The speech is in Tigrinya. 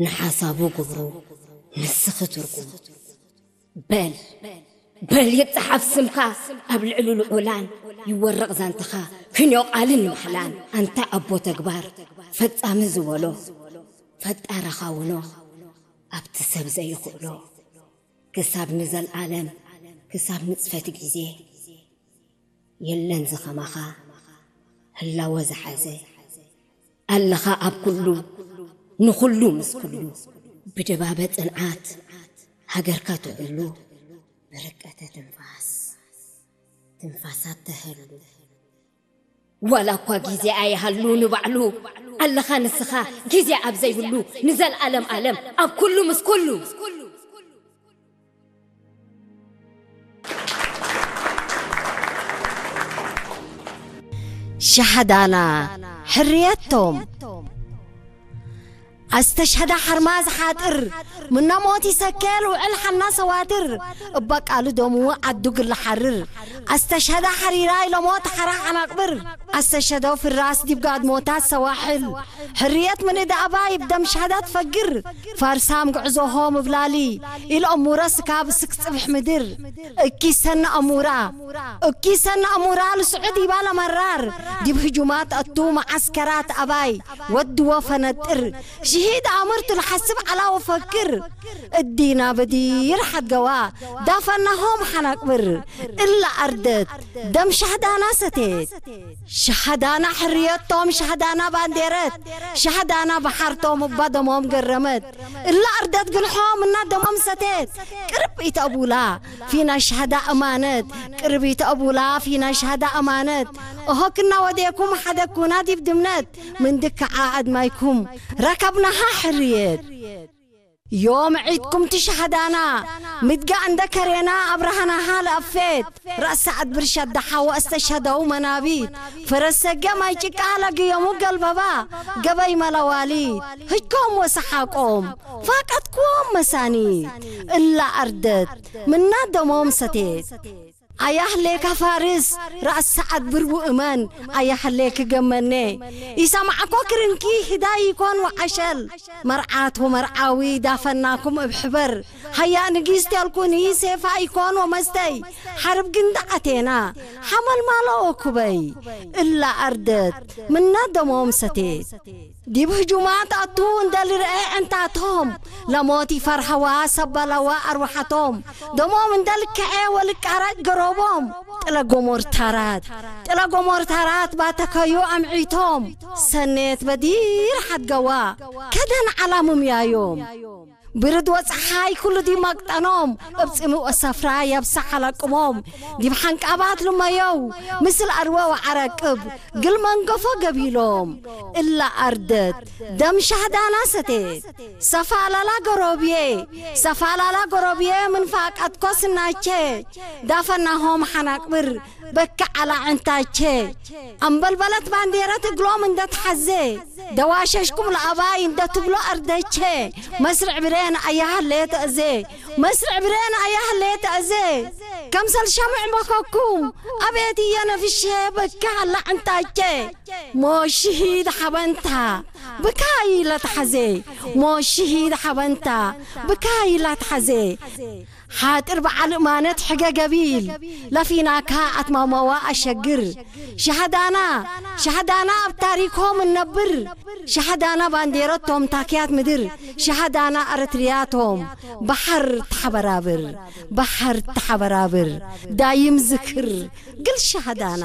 ንሓሳቡ ግብሩ ንስኺ ትርጉም። በል በል ይጽሓፍ ስምካ ኣብ ልዕሊ ልዑላን፣ ይወረቕ ዛንታኻ ክንዮ ቃልን ማሕላን። ኣንታ ኣቦ ተግባር ፈጻሚ ዝበሎ፣ ፈጣርኻ ውኖ ኣብቲ ሰብ ዘይኽእሎ። ክሳብ ንዘልኣለም ክሳብ ንጽፈት ግዜ የለን ዝኸማኻ ህላወ ዝሓዘ። ኣለኻ ኣብ ኩሉ ንኹሉ ምስ ኩሉ፣ ብድባበ ጽንዓት ሃገርካ ትዕሉ፣ ብርቀተ ትንፋስ ትንፋሳት ተህሉ። ዋላ እኳ ግዜ ኣይሃሉ ንባዕሉ፣ ኣለኻ ንስኻ ግዜ ኣብ ዘይብሉ፣ ንዘልኣለም ኣለም ኣብ ኩሉ ምስ ኩሉ። ሸሃዳና ሕርየቶም። ኣስተሽሀዳ ሓርማዝ ሓጥር ምናሞት ይሰከል ውዕል ሓና ሰዋትር፣ እባ ቃሉ ደሙ ዓዱ ግላ ሓርር። ኣስተሽሀዳ ሓሪራይ ለሞት ሓራ ሓናቅብር፣ ኣስተሽሀዶ ፍራስ ዲብ ጋድሞታት ሰዋሕል። ሕርየት ምን እዳ ኣባይ ብደም ሸሃዳ ትፈግር፣ ፋርሳም ጉዕዞሆም እብላሊ ኢል እሙረ ስካብ ስክ ጽብሕ ምድር። እኪ ሰነ ኣሙራ እኪ ሰነ ኣሙራ ልስዑድ ይባል ኣመራር፣ ዲብ ህጁማት ኣቱ መዓስከራት ኣባይ ወድዎ ፈነጥር። ሽሂድ ኣምርቱ ልሓስብ ዓላ ወፈክር፣ እዲና በዲር ሓድገዋ ዳፈናሆም ሓናቅብር። እላ ኣርደት ደም ሻህዳና ሰቴት። ሸሃዳና ሕርየቶም ሸሃዳና ባንዴረት፣ ሸሃዳና ባሓርቶም እባ ደሞም ገረመት። እላ ኣርደት ግልሖም እና ደሞም ሰቴት። ቅርብ ኢተቡላ ፊና ሸሃዳ እማነት፣ ቅርብ ኢተቡላ ፊና ሸሃዳ እማነት። እሆ ክና ወዴኩም ሓደኩና ዲብ ድምነት፣ ምን ድክዓ ኣድማይኩም ረከብናሃ ሕርየት። ዮም ዒድኩም ትሸሃዳና፣ ምድጋ እንደ ከሬና ኣብርሃናሃ ለኣፌት። ራእሳ ኣድብር ሸዳሓ ወእስተሸደው መናቢት፣ ፈረሰገ ማይ ጭቃ ለግዮሙ ገልበባ፣ ገበይ መለዋሊት ህጅኮም ወሰሓቆም ፋቀትኩም መሳኒት። እላ ኣርደት ምና ደሞም ሰቴት። ኣያህሌካ ፋርስ ራእሳ ኣድብር ውእመን፣ ኣያህሌክ ገመኔ ኢሰማዕኮ ክርንኪ ህዳይ ይኮን ወዓሸል። መርዓት ወመርዓዊ ዳፈናኩም እብ ሕበር፣ ሃያ ንጊስት ያልኩኒ ሴፋ ይኮን ወመስተይ። ሓርብ ግንዳ ኣቴና ሓመልማሎ ወኩበይ። እላ ኣርደት ምና ደሞም ሰቴት። ዲብ ህጁማት ኣቱ እንደ ልርኤ ዕንታቶም፣ ለሞት ይፈርሀዋ ሰበለዋ ኣርዋሓቶም። ደሞም እንደ ልከዐ ወልቃራጭ ገሮቦም። ጥለ ጎሞርታራት ጥለ ጎሞርታራት ባተከዩ ኣምዒቶም። ሰኔት በዲር ሓድገዋ ከደን ዓላ ምምያዮም። ብርድ ወጸሓይ ኩሉ ዲብ መቅጠኖም፣ እብ ጽምእ ወሰፍራ የብሳ ሓለቅሞም። ዲብ ሓንቃባት ልመየው ምስል ኣርወ ወዓረቅብ፣ ግል መንገፎ ገቢሎም። እላ ኣርደት ደም ሻህዳና ሰቴት። ሰፋላላ ገሮብዬ ሰፋላላ ገሮብዬ ምን ፋቀትኮ ስናቼ፣ ዳፈናሆም ሓናቅብር በካ ዓላ ዕንታቼ። ኣምበልበለት ባንዴረት እግሎም እንደትሓዜ፣ ደዋሸሽኩም ለኣባይ እንደትብሎ ኣርደቼ። መስርዕ ብሬን ኣያሃሌ ተእዜ መስርዕ ብሬን ኣያሃሌ ተእዜ። ከምሰል ሸምዕ መኸኩም ኣቤት እየ ነፍሼ በካ ዓላ ዕንታቼ። ሞሽሂድ ሓበንታ ብካይ ለትሓዜ ሞሽሂድ ሓበንታ ብካይ ላትሓዜ። ሓጥር በዓል እማነት ሕገ ገቢል ለፊናካ ኣትማማዋ ኣሸግር። ሸሃዳና ሸሃዳና ኣብ ታሪኮም እነብር። ሸሃዳና ባንዴረቶም ታክያት ምድር። ሸሃዳና ኣረትርያቶም ባሕር ተሓበራብር ባሕር ተሓበራብር። ዳይም ዝክር ግል ሸሃዳና።